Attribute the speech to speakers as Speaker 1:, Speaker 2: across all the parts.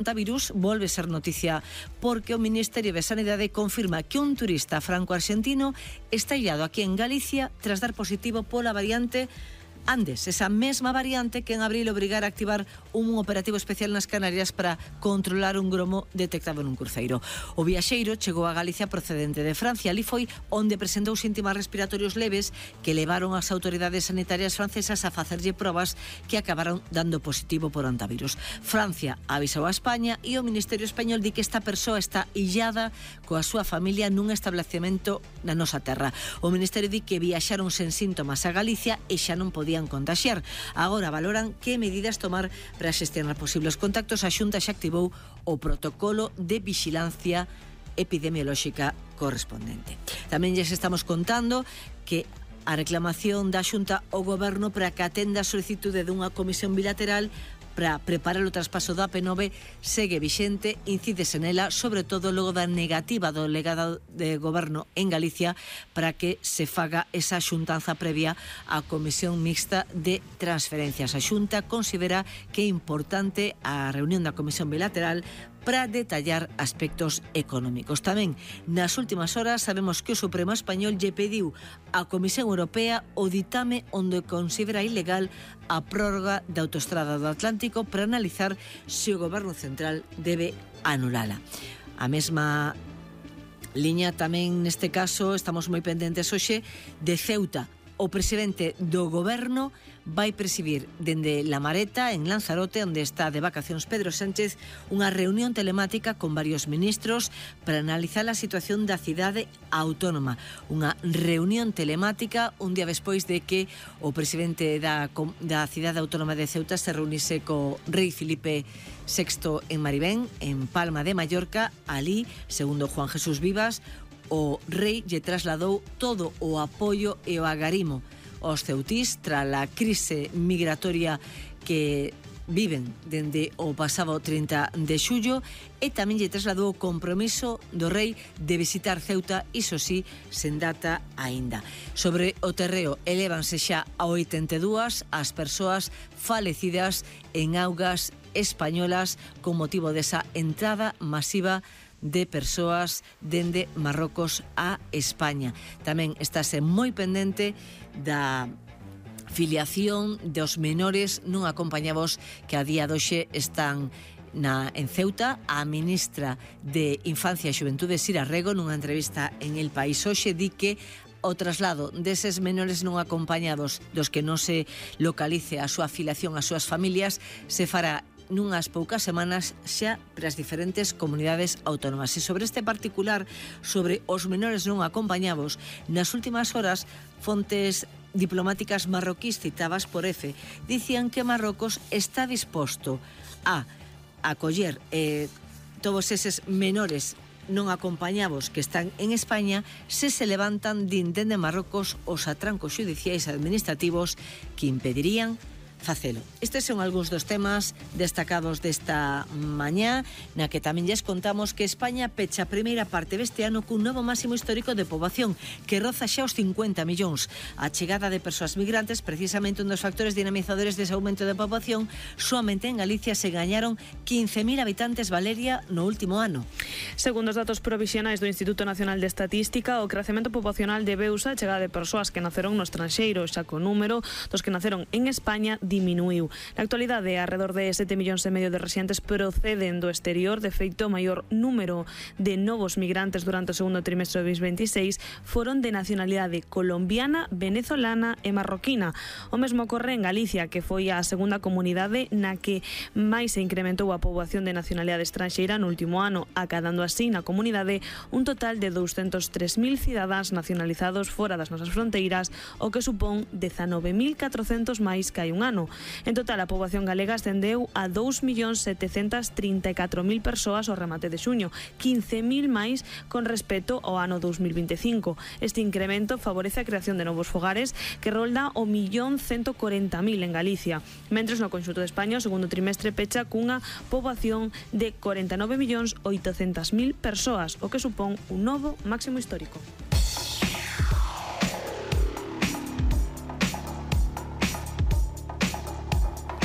Speaker 1: Coronavirus volve ser noticia porque o Ministerio de Sanidade confirma que un turista franco-arxentino está illado aquí en Galicia tras dar positivo pola variante Andes, esa mesma variante que en abril obrigara a activar un operativo especial nas Canarias para controlar un gromo detectado nun cruceiro. O viaxeiro chegou a Galicia procedente de Francia. Ali foi onde presentou síntomas respiratorios leves que levaron as autoridades sanitarias francesas a facerlle probas que acabaron dando positivo por antivirus. Francia avisou a España e o Ministerio Español di que esta persoa está illada coa súa familia nun establecemento na nosa terra. O Ministerio di que viaxaron sen síntomas a Galicia e xa non podían contaxiar. Agora valoran que medidas tomar para xestionar posibles contactos. A Xunta xa activou o protocolo de vixilancia epidemiolóxica correspondente. Tamén lles estamos contando que a reclamación da Xunta ao Goberno para que atenda a solicitude dunha comisión bilateral para preparar o traspaso da AP9 segue vixente, incídese nela, sobre todo logo da negativa do delegado de Goberno en Galicia para que se faga esa xuntanza previa á Comisión Mixta de Transferencias. A Xunta considera que é importante a reunión da Comisión Bilateral para detallar aspectos económicos. Tamén, nas últimas horas, sabemos que o Supremo Español lle pediu á Comisión Europea o ditame onde considera ilegal a prórroga da autoestrada do Atlántico para analizar se o Goberno Central debe anulala. A mesma liña tamén neste caso estamos moi pendentes hoxe de Ceuta. O presidente do Goberno vai presidir dende La Mareta, en Lanzarote, onde está de vacacións Pedro Sánchez, unha reunión telemática con varios ministros para analizar a situación da cidade autónoma. Unha reunión telemática un día despois de que o presidente da cidade autónoma de Ceuta se reunise co rei Filipe VI en Maribén, en Palma de Mallorca. Ali, segundo Juan Jesús Vivas, o rei lle trasladou todo o apoio e o agarimo aos ceutís tras a crise migratoria que viven dende o pasado 30 de xullo e tamén lle trasladou o compromiso do rei de visitar Ceuta, iso sí, sen data aínda. Sobre o terreo, elévanse xa a 82 as persoas falecidas en augas españolas con motivo desa entrada masiva de persoas dende Marrocos a España. Tamén estáse moi pendente da filiación dos menores non acompañados que a día de hoxe están en Ceuta. A ministra de Infancia e Xuventude, Sira Rego, nunha entrevista en El País hoxe, di que o traslado deses menores non acompañados dos que non se localice a súa filiación ás súas familias se fará nunhas poucas semanas xa para as diferentes comunidades autónomas. E sobre este particular, sobre os menores non acompañados, nas últimas horas, fontes diplomáticas marroquís citadas por EFE dicían que Marrocos está disposto a acoller todos eses menores non acompañados que están en España se levantan dende Marrocos os atrancos xudiciais administrativos que impedirían facelo. Estes son algúns dos temas destacados desta mañá, na que tamén lles contamos que España pecha a primeira parte deste ano cun novo máximo histórico de poboación que roza xa os 50 millóns. A chegada de persoas migrantes, precisamente un dos factores dinamizadores dese aumento de poboación, soamente en Galicia se gañaron 15.000 habitantes, Valeria, no último ano.
Speaker 2: Segundo os datos provisionais do Instituto Nacional de Estatística, o crecemento poboacional debeuse á chegada de persoas que naceron no estranxeiro, xa que o número dos que naceron en España diminuiu. Na actualidade, alrededor de 7,5 millóns de residentes proceden do exterior. De feito, o maior número de novos migrantes durante o segundo trimestre de 2026 foron de nacionalidade colombiana, venezolana e marroquina. O mesmo ocorre en Galicia, que foi a segunda comunidade na que máis se incrementou a poboación de nacionalidade estranxeira no último ano, acadando así na comunidade un total de 203.000 cidadáns nacionalizados fora das nosas fronteiras, o que supón 19.400 máis que hai un ano. En total, a poboación galega ascendeu a 2.734.000 persoas ao remate de xuño, 15.000 máis con respecto ao ano 2025. Este incremento favorece a creación de novos fogares que rolda o 1.140.000 en Galicia, mentres no conxunto de España o segundo trimestre pecha cunha poboación de 49.800.000 persoas, o que supón un novo máximo histórico.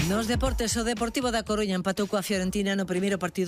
Speaker 1: Nos deportes, o Deportivo da Coruña empatou coa Fiorentina no primeiro partido